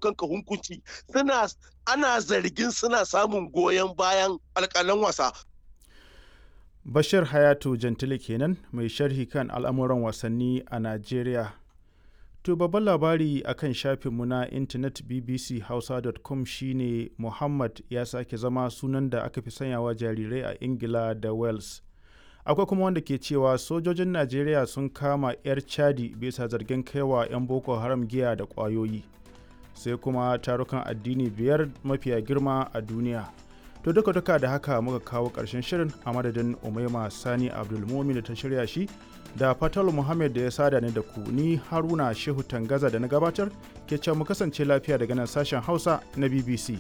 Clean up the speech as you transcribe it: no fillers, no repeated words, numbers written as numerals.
Kanka hukunci suna ana zargin suna samun goyon bayan alƙalan wasa. Bashir Hayatu Jantile kenan mai sharhi kan al'amuran wasanni a Najeriya. To babban labari a kan shafinmu na intanet bbchausa.com shine Muhammad ya sake zama sunan da aka fi sanyawa jarirai a Ingila da Wales. Akwai kuma wanda ke cewa sojojin Najeriya sun kama 'yar Chadi bisa zargin kaiwa 'yan Boko Haram giya da ƙwayoyi. Sai kuma tarukan addini biyar mafiya girma a duniya. To duka duka da haka muka kawo ƙarshen shirin a madadin Umaima Sani Abdulmumin da ta shirya shi da Fatal Muhammad da ya sada ni da ku, ni Haruna Shehu Tangaza da na gabatar ke cewa mu kasance lafiya daga nan sashen Hausa na BBC.